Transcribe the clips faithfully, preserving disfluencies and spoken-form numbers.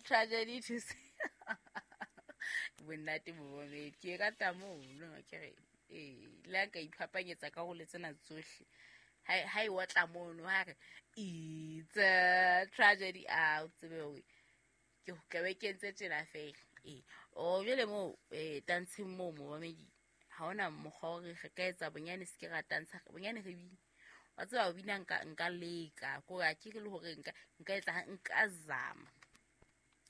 tragedy to see. Bonnate momamedi ke rata mono ke re ee le a ka iphapanyetsa ka go le tsena tsohle ha e otla mono ha re it's a tragedy a o tsebe hore ke ka be ke entse tjena fela. Ee o jwale moo eh tantsheng moo momamedi ha hona mokgwa hore re ka etsa bonyane se ke ra tantsha bonyane re bine. Wa tseba ho bina nka nka leka ko a ke le hore nka nka etsa nka zama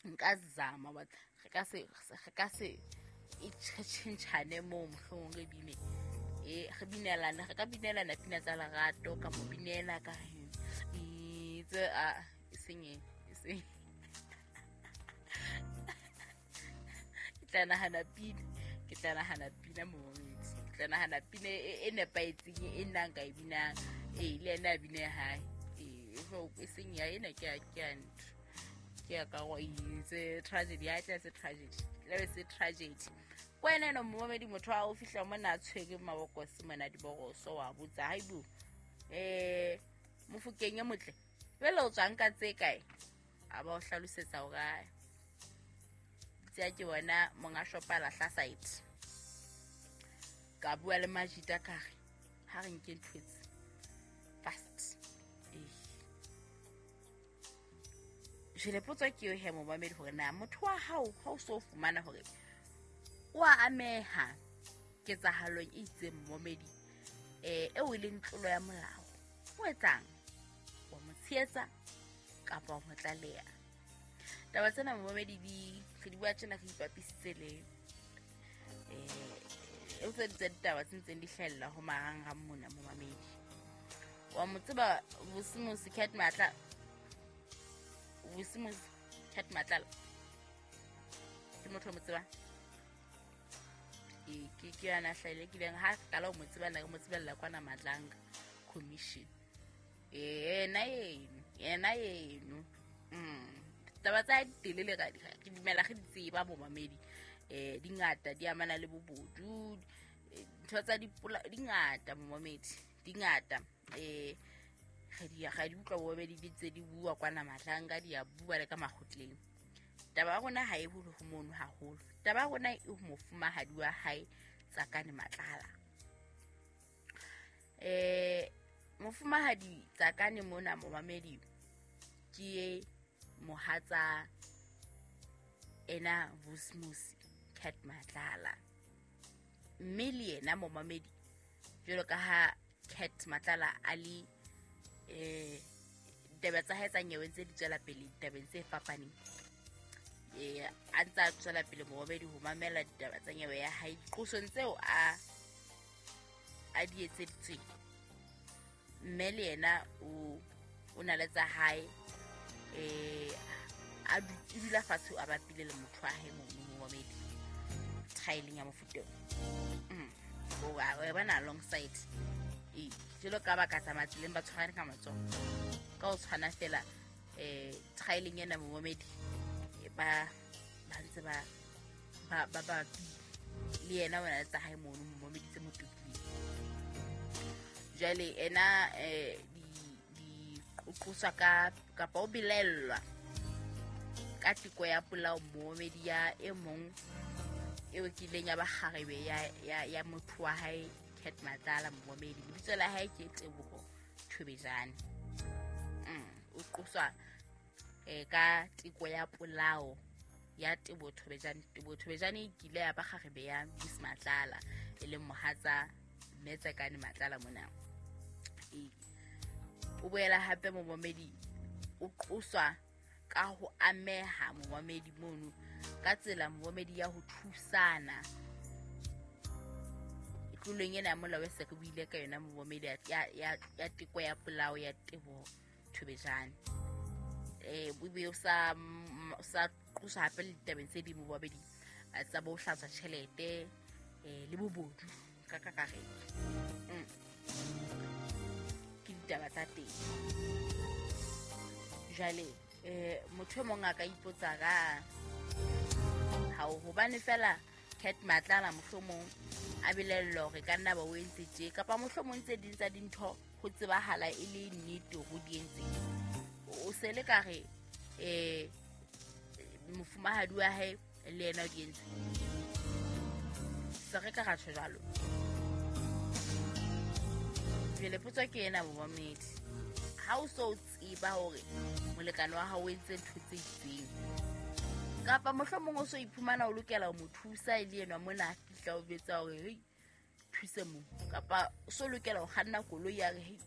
nka zama but re ka se re ka se e tjhentjhane moo mohlomong re bine e re binelana re ka binelana pina tsa lerato ka mo binela ka itse a seng e seng ke tla nahana pina ke tla nahana pina momamedi ke tla nahana pina e nepahetseng e nna nka e binang e le ena a bine hae e e seng ya ena ke a ke a ntho ke ya ka go itse tragedy ya tla se tragedy le be se tragedy. Kwena no momamedi motho a o fihla mona a tshwere mabokose mona diboroso wa botsa haibo eh Mofokeng e motle jwale o tswang ka tse kae a ba o hlalosetsa hore tsa ke bona monga shopa lahla site ka bua le majita ka re ha re nke ntho tse fast eh jele potso ke yo he momamedi hore na motho wa hao ha o so fumana hore o a ameha ketsahalong e itseng momamedi eh eo e leng tlolo ya molao o etsang wa mo tshehetsa kapa wa mo tlaleha. Taba tsena momamedi di re di bua tjena re ipapisitse le eh e tse tse ditaba tse ntseng di hlahella ho marangrang mona momamedi. Wa mo tseba Vusimuzi Cat Matla Vusimuzi Cat Matlala ke motho o mo tsebang e ke ke yana hlahile ke leng ha qala ho mo tseba nna ke mo tsebella kwana Madlanga Commission yena eno yena eno mm taba tsa telele ka ke dumela re di tseba momamedi eh di ngata di amana le bobodu ntho tsa dipola di ngata momamedi di ngata eh re di ga di utlwa momamedi di tse di bua kwana Madlanga di a bua le ka makgotleng. Taba ya rona ha e hole ho mono haholo. Taba ya rona e ho mofumahadi wa hae Tsakane Matlala. Eh mofumahadi Tsakane mona momamedi ke mohatsa ena Vusimuzi Cat Matlala mme le yena momamedi jwalo ka ha Cat Matlala a le eh ditaba tsa hae tsa nyewe ntse di tswela pele ditabeng tse fapaneng eh a ntse a tswela pele momamedi ho mamela ditaba tsa nyewe ya hae diqosong tseo a a di etseditsweng mme le yena o o na le tsa hae eh a dula fatshe a bapile le motho wa hae mono momamedi trialing ya mofuta mm o wa bona alongside e jelo ka ba ka tsamaya tseleng ba tshwarane ka matsoho ka o tshwana fela eh trialing ena momamedi ba ba ntse ba ba ba ba le yena ona tsa hae mono momamedi tse motokileng jwale ena eh di di qoswa ka kapa o belellwa ka teko ya polao momamedi ya e mong eo kileng ya ba kgarebe ya ya ya motho wa hae Cat Matlala momamedi lebitso la hae ke Teboho Thobejane mm o qoswa eh ka teko ya polao ya Teboho Thobejane. Teboho Thobejane e kile ya ba kgarebe ya Vusi Matlala e leng mohatsa mme Tsakane Matlala mona e o boela hape momamedi o qoswa ka ho ameha momamedi mono ka tsela momamedi ya ho thusana tlolong ena ya molao e se re buile ka yona momamedi ya ya ya teko ya polao ya Teboho Thobejane eh bo sa sa qoswa hape le ditabeng tse ding momamedi tsa bo hlatswa tjhelete eh le bobodu ka kakaretso mm ke ditaba tsa teng jwale eh motho e mong a ka ipotsa ka ha o hobane fela Cat Matlala mohlomong a belellwa hore ka nna ba o entse tje kapa mohlomong tse ding tsa dintho ho tsebahala e le nnete ho di entse o se le ka re eh Mofumahadi wa hae le yena o di entse. Se re ka ra tjho jwalo. Jwale potso ke ena momamedi. Ha o so tseba hore molekane wa hao o entse ntho tse itseng, kapa mohlomong o so iphumana o lokela ho mo thusa e le enwa mona a fihla o betsa hore hei thuse mo, kapa o so lokela ho kganna koloi ya re hei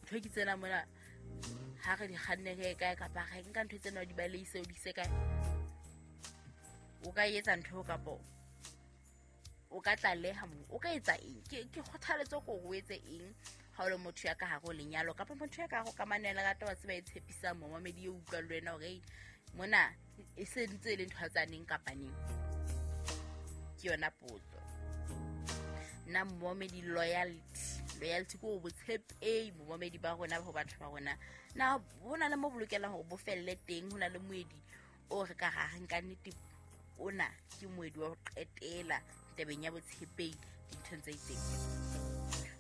ntho ke tsena mona ha re di kganne re ye kae, kapa re nka ntho tsena o di baleise o di ise kae. O ka etsa ntho kapa o ka tlaleha mo, o ka etsa eng? Ke ke kgothaletso ko o etse eng ha o le motho ya ka hare ho lenyalo kapa motho ya ka hare ho kamano ya lerato wa tseba e tshepisang momamedi e utlwa le wena hore mona e se ntse e le ntho tsa neng kapa neng. Ke yona potso. Nna momamedi, loyalty, loyalty ko botshepehi momamedi ba rona ho batho ba rona. Na ho na le mo bolokelang hore bo felle teng, ho na le moedi o re ka ra re nka nnete ona ke moedi wa ho qetela tabeng ya botshepehi dinthong tse itseng.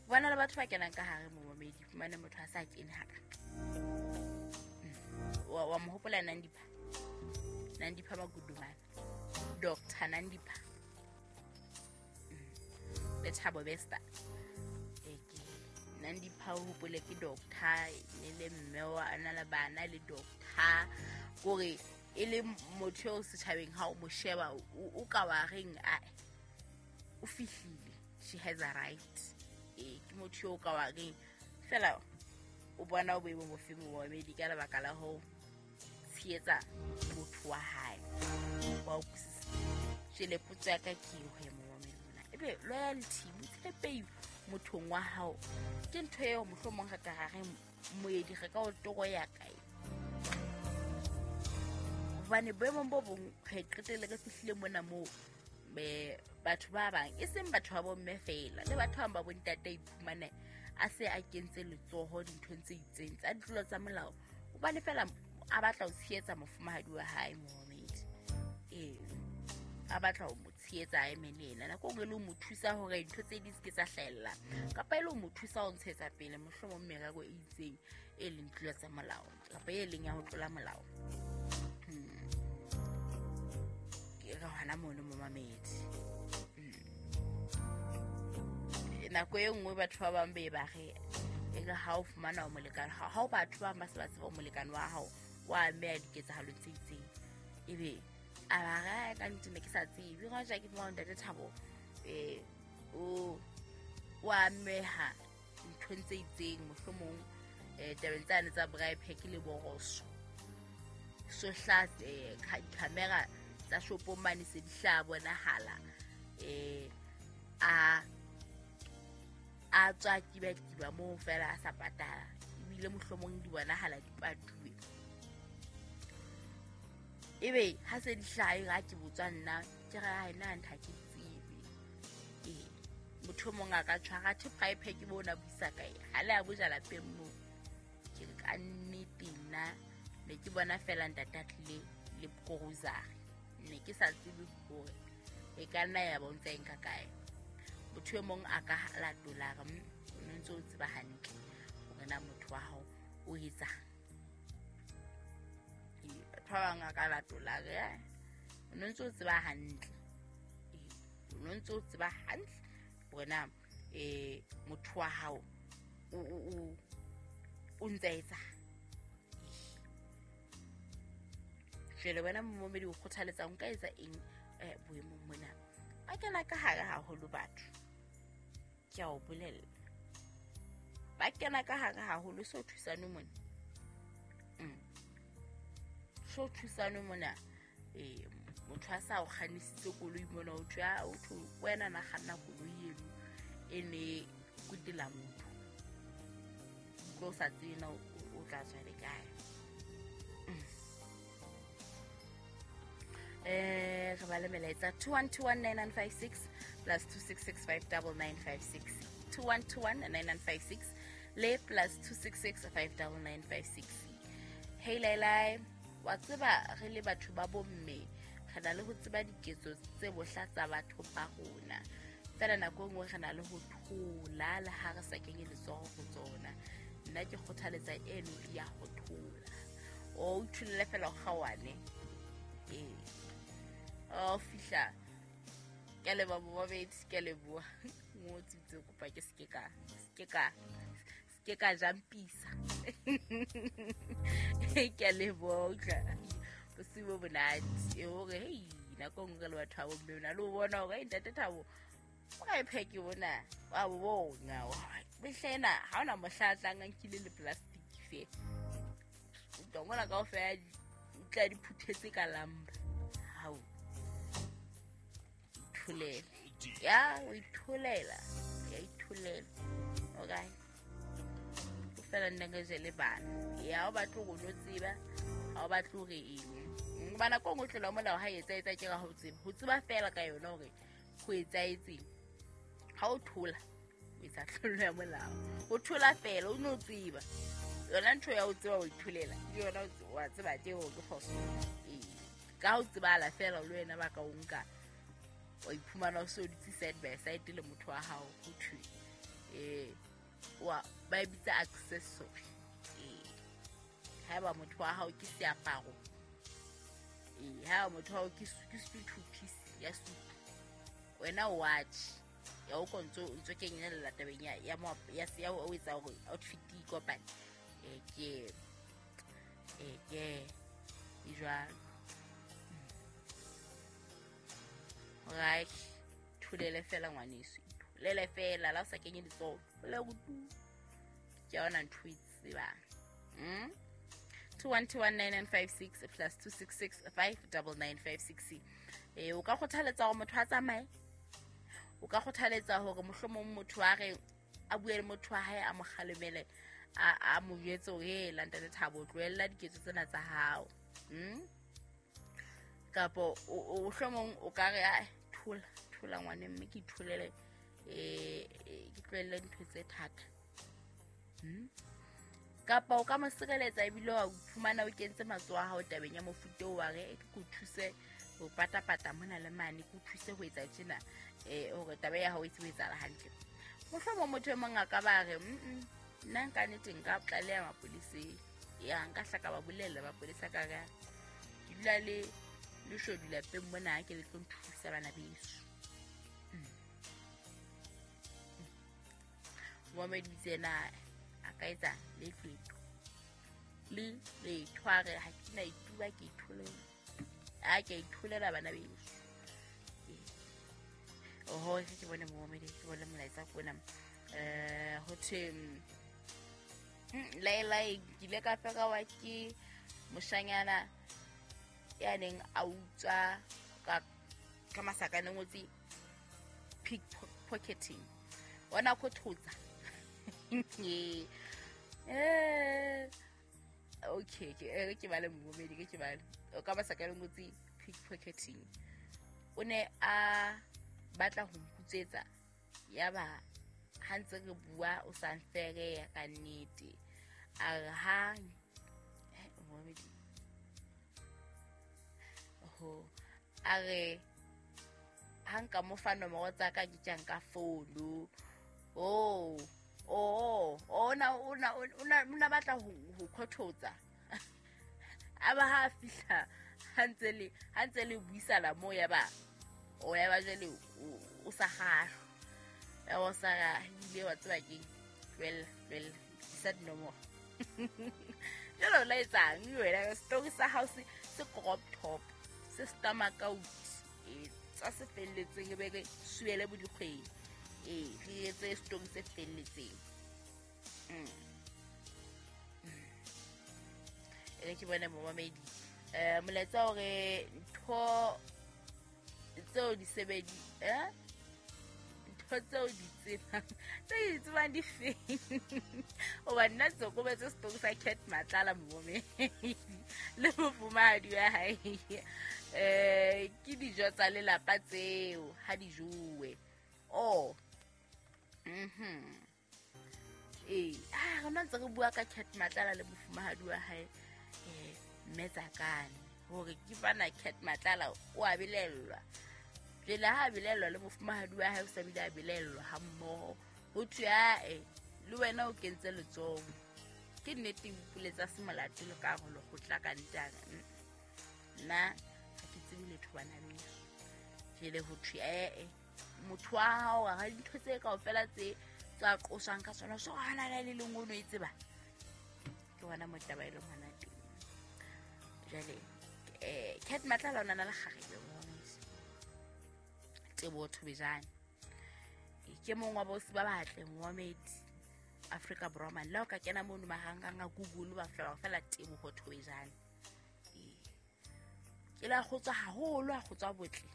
Bona le batho ba kenang ka hare momamedi, fumane motho a sa kene haka. Wa wa mo hopola Nandipha. Nandipha Magudumana. Doctor Nandipha. Le Thabo Bester. Eke Nandipha o hopole ke doctor le le mme wa ana le bana le doctor kore e le motho o setjhabeng ha o mo sheba o ka wa reng a o fihlile, she has a right. E ke motho o ka wa reng fela o bona o boemo bofe momamedi ka lebaka la ho tshehetsa motho wa hae. Wa utlwisisa? Jwale potso ya ka ke eo he momamedi mona, ebe loyalty, botshepehi mothong wa hao ke ntho eo mohlomong re ka ra re moedi re ka o toro ya kae? Hobane boemong bo bong re qetelle re fihlile mona moo me batho ba bang e seng batho ba bomme feela le batho ba bang ba bontate iphumane a se a kentse letsoho dinthong tse itseng tsa ditlolo tsa molao hobane fela a batla ho tshehetsa mofumahadi wa hae momamedi. Ee, a batla ho mo tshehetsa a eme le yena nako nngwe le ho mo thusa hore dintho tse di se ke tsa hlahella kapa e le ho mo thusa ho ntshetsa pele mohlomong merero e itseng e leng tlolo tsa molao kapa e leng ya ho tlola molao. Ke re hona mono momamedi. Nako e nngwe batho ba bang be ba re e re ha o fumana o molekane ha o batho ba bang ba se ba tseba o molekane wa hao wa ameha diketsahalong tse itseng, ebe a ba re ka nnete ne ke sa tsebe ga ja ke fumana ntate Thabo eh o wa ameha nthong tse itseng mohlomong eh tabeng tsane tsa bribe ke le boroso so hla eh camera tsa shopong mane se di hla bonahala eh a a tswa kiba kiba moo fela a sa patala ebile mohlomong di bonahala di patuwe. Ebe ha se di hlae ga ke botswa nna ke re ha ena ntha ke tsebe. Ee, motho mong a ka tshwara the bribe ke bona buisa kae ha le a boja lapeng moo. Ke re ka nnete nna ne ke bona fela ntate a tlile le grocery, ne ke sa tsebe hore e ka nna ya bontsha eng ka kae. Motho e mong a ka latola re o no ntse o tseba hantle hore na motho wa hao o etsang. Ee, batho ba bang a ka latola re o no ntse o tseba hantle. Ee, o no ntse o tseba hantle hore na eh motho wa hao o o o ntse a etsang. Jwale wena momamedi o kgothaletsa o nka etsa eng eh boemong mona? Ba kena ka hare haholo batho, ke a o bolella, ba kena ka hare haholo. So thusane mona, mm so thusane mona. Eh motho a sa o kgannisitse koloi mona, o thwe o thwe wena na kganna koloi eno e ne kutela motho o sa tsebe na o tla tswa le kae. Eh re ba le melaetsa two one two one nine nine five six plus two six six five nine nine five six, two one two one nine nine five six le plus two six six five nine nine five six. Hey Laila, wa tseba re le batho ba bomme re na le ho tseba diketso tse bohla tsa batho ba rona, fela nako e nngwe re na le ho thola le ha re sa kenye letsoho ho tsona. Nna ke kgothaletsa eno ya ho thola, o itholele fela o kgawane. Ee, fihla. Ke a leboha momamedi, ke a leboha. Ngotse itse kopa ke se ke ka se ke ka se ke ka jampisa. Ke a leboha utlwa. Bosiu bo monate. E hore hei nako nngwe re le batho ba bomme o na le ho bona hore hei ntate Thabo o ka e pheke bona wa bo bona. Mehlena ha ona mohla a tlang a nkile le plastic fe. O tla mona kaofela o tla di phuthetse ka lamba. Hao. Itholela. Ya o itholela. Ya itholela. Okay. O fela nna ke jele bana. Ya o batla go no tseba, ha o batla hore eng. Bana ko ngwe tlola molao ha etsa etsa ke ga ho tseba. Ho tseba fela ka yona hore ho etsaetseng. Ha o thola o etsa tlolo ya molao. O thola fela o no tseba. Yona ntho ya ho tseba o itholela. Ke yona wa tseba teng hore ke phoso. Ee. Ka ho tsebala fela le wena ba ka o nka. Wa iphumana o so dutse side by side le motho wa hao ho thwe. Eh wa ba e bitsa accessory. Eh haeba motho wa hao ke seaparo. Eh haeba motho wa hao ke ke two piece ya suit. Wena o watch. Ya o kontso o ntso kenyella tabeng ya ya ya ya o etsa hore outfit e kopane. Eh ke eh ke e jwalo. Right, thulele fela ngwaneso. Thulele fela la o sa kenye letsoho. Le go tu. Ke yona ntho e tsebang. Mm? two one two one nine nine five six plus two six six five nine nine five six. Eh o ka kgothaletsa hore motho a tsamaye. O ka kgothaletsa hore mohlomong motho a re a bue le motho wa hae a mo kgalemele a a mo jwetse hore he la ntate Thabo tlohella diketso tsena tsa hao. Mm? Kapo o hlomong o ka re a thola thola ngwane mme ke itholele eh ke tlohelle dintho tse thata. Mm? Kapa o ka mo sireletsa ebile wa fumana o kentse matsoho a hao tabeng ya mofuta o wa re ke go thuse ho patapata mona le mane ke o thuse ho etsa tjena eh hore taba ya hao e tsebe etsahala hantle. Mohlomong motho e mong a ka ba re mm nna nka nnete nka tlaleha mapoliseng. Ya nka hla ka ba bolella mapolisa ka re ke dula le le shodu lapeng mona ke le tlo nthusa bana beso. Momedi tsena a ka etsa le tletho le le tshware ha ke na ituba ke itholela. A ke itholela bana beso. Oho ke bone momedi ke bone molaetsa kona eh ho thwe Laila ke ile ka feka wa ke moshanyana ya neng a utswa ka ka masakane ngotse pickpocketing. Ona ko thotsa. Eh okay ke ke bale momedi ke ke bale. O ka masakane ngotse pickpocketing. O ne a batla ho nkutswetsa ya ba ha ntse re bua o sa nfere ka nnete. A re ha momedi ho a re ha nka mo fa nomoro tsa ka ke tjang ka phone. Oh oh ona ona ona ona batla ho ho khototsa. A ba ha fihla ha ntse le ha ntse le buisana mo ya ba o ya ba jele o sa kgahlwa. Ya o sa ile wa tseba ke well well sa dinomoro. Jalo la etsang wena story sa house se crop top se stomach out e tsa se felletseng e be re suele bo dikgwedi. E re etse story se felletseng. Mm. E ke bona momamedi eh molaetsa hore ntho tseo di sebedi eh ntho tseo di tsebang tse di tsebang di feng o ba nna tsokobetse story sa Cat Matlala momamedi le mofumahadi wa hae eh ke dijo tsa lelapa tseo ha di jowe. Oh mhm eh ah rona ntse re bua ka Cat Matlala le mofumahadi wa hae eh mme Tsakane hore ke bana Cat Matlala o a belellwa jele ha belellwa le mofumahadi wa hae o sa bile a belellwa ha mmoho ho thwe ae le wena o kentse letsoho ke nnete ipuletsa se molato le ka hore lekgotla ka ntana nna ha ke tsebe letho bana beso Jele ho thwe eh motho wa hao ga dintho tse kaofela tse tsa qosang ka tsona so hana le le lengwe no e tseba. Ke hona mo taba e leng hona teng. Jwale eh Cat Matlala ona na le kgarebe momamedi. Teboho Thobejane ke mong wa bosi ba batle momamedi Afrika Borwa man. La o ka kena mono marangrang a Google ba fela fela Teboho Thobejane. Ke la kgotswa haholo a kgotswa botle.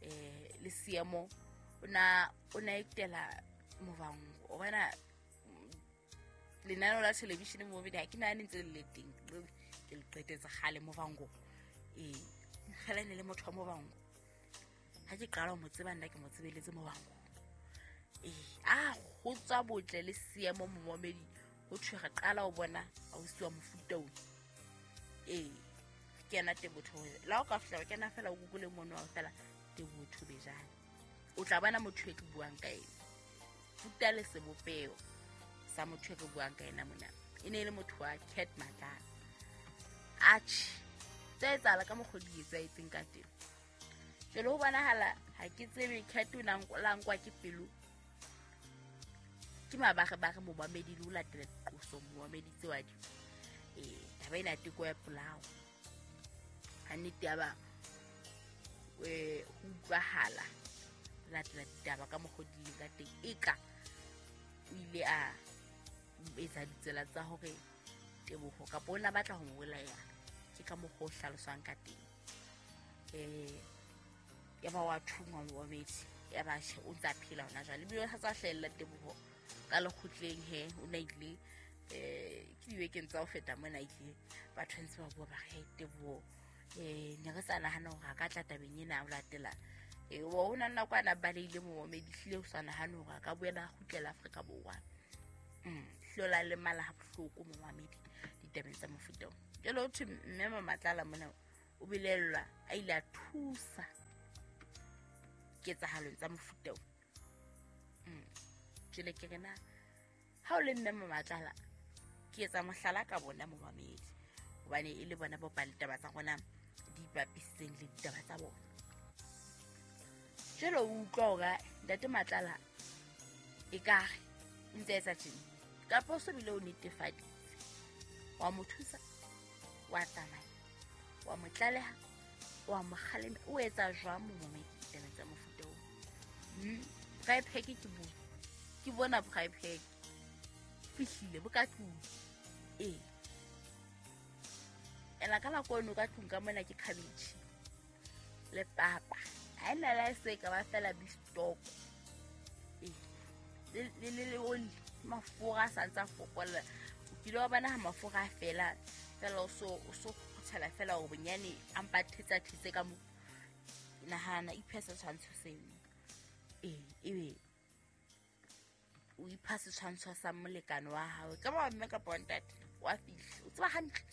Eh le seemo ona ona etela Muvhango o bona lenaneo la television mo bedi ha ke nahane ntse le le teng ke le qetetse kgale Muvhango. Eh kgale ne le motho wa Muvhango ha ke qala ho mo tseba nna ke mo tsebeletse Muvhango. Eh a kgotswa botle le seemo momamedi ho thwe re qala ho bona ausi wa mofuta ona. Eh ke yena Teboho Thobejane. La o ka fihla o kena fela o Google mono wa fela Teboho Thobejane o tla bona motho e ke buang ka ena. Futa le sebopeho sa motho e re buang ka ena mona e ne e le motho wa Cat Matlala. Atjhe tse etsahala ka mokgwa di etsahetseng ka teng. Jwale ho bonahala ha ke tsebe Cat o na la nkwa ke pelo ke mabarebare momamedi le ho latela diqoso momamedi tse wa di. Eh taba ena teko ya polao ha nnete ya ba eh ho utlwahala latela ditaba ka mokgwa di leng ka teng eka o ile a etsa ditsela tsa hore Teboho kapa o na batla ho mo bolaya ke ka mokgwa o hlaloswang ka teng. Eh ya ba wa thungwa momamedi ya ba o ntsa phela hona jwale ebile sa tswa hlahella Teboho ka lekgotleng he o na ile eh ke dibekeng tsa ho feta mona ile batho ntse ba bua ba re Teboho eh ne re sa nahana hore a ka tla tabeng ena o latela. Eh o na nako ana baleile momamedi hlile o sa nahana hore a ka boela a kgutlela Afrika Borwa. Mm hlola le mala ha bohloko momamedi ditabeng tsa mofuta o. Jwale ho thwe mme Matlala mona o belellwa a ile a thusa ketsahalong tsa mofuta o. Mm jwale ke re na ha o le mme Matlala ke etsa mohlala ka bona momamedi hobane e le bona bo ba ditaba tsa rona di ipapisitseng le ditaba tsa bona. Jwale o utlwa hore ntate Matlala ekare o ntse etsa tjena kapa o so bile o netefaditse wa mo thusa wa tsamaya wa mo tlaleha wa mo kgalema o etsa jwang momamedi ditaba tsa mofuta oo? Mm braai pack ke bo ke bona braai pack fihlile bo ka tlung. Eh ela ka la kono ka tlung ka mona ke cabbage le papa ha ena la se ka ba fela beef stock eh le le le oli mafura a sa ntsa fokolla o kile wa bona ha mafura a fela fela o so o so kgothala fela o bonyane a mpa thetsa thetse ka mo nahana iphe setshwantsho seno. Eh ebe o ipha setshwantsho sa molekane wa hao ka ba mme kapa ntate wa fihla o tseba hantle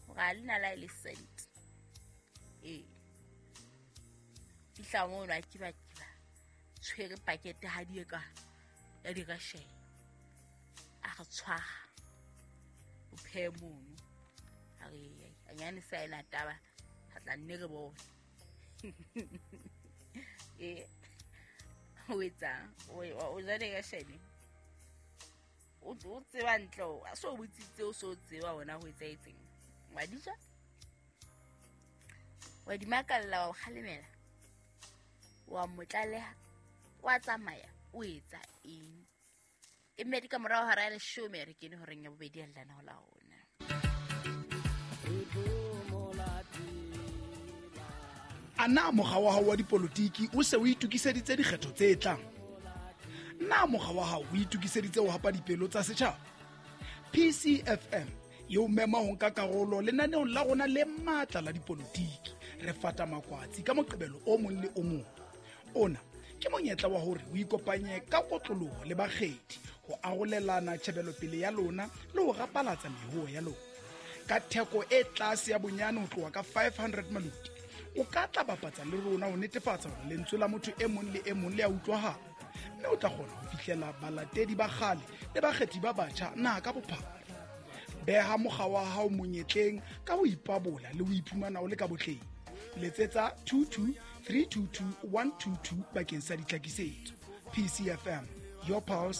hore ha lena la le cent. Eh fihla mono a kiba kiba tshwere pakete ha di ka ya di ka share a re tshwara o phe mono a re anyane sa ena taba ha tla nne re bone. Eh o etsa o o ja di ka share o o tseba ntle a so botsitse o so tseba wona ho etsaetseng wa di ja wa di makalla wa kgalemela wa mo tlaleha wa tsamaya o etsa eng e mmedi ka morao hora ya leshome re kene horeng ya bobedi ya lenaneo la rona. A na mokga wa hao wa dipolotiki o se o itokiseditse dikgetho tse tlang? Na mokga wa hao o itokiseditse ho hapa dipelo tsa setjhaba? P C F M e o mema ho nka karolo lenaneong la rona le matla la dipolotiki. Re fata makwatsi ka Moqebelo o mong le o mong. Ona ke monyetla wa hore o ikopanye ka kotloloho le bakgethi ho arolelana tjhebelopele ya lona le ho rapalatsa mehoho ya lona. Ka theko e tlase ya bonyane ho tloha ka five hundred maloti, o ka tla bapatsa le rona ho netefatsa hore lentswe la motho e mong le e mong le a utlwahala, mme o tla kgona ho fihlela balatedi ba kgale le bakgethi ba batjha naha ka bophara. Beha mokga wa hao monyetleng ka ho ipabola le ho iphumana o le ka botleng. Letsetsa two two three two two one two two bakeng sa ditlhakisetso. P C F M, your pulse.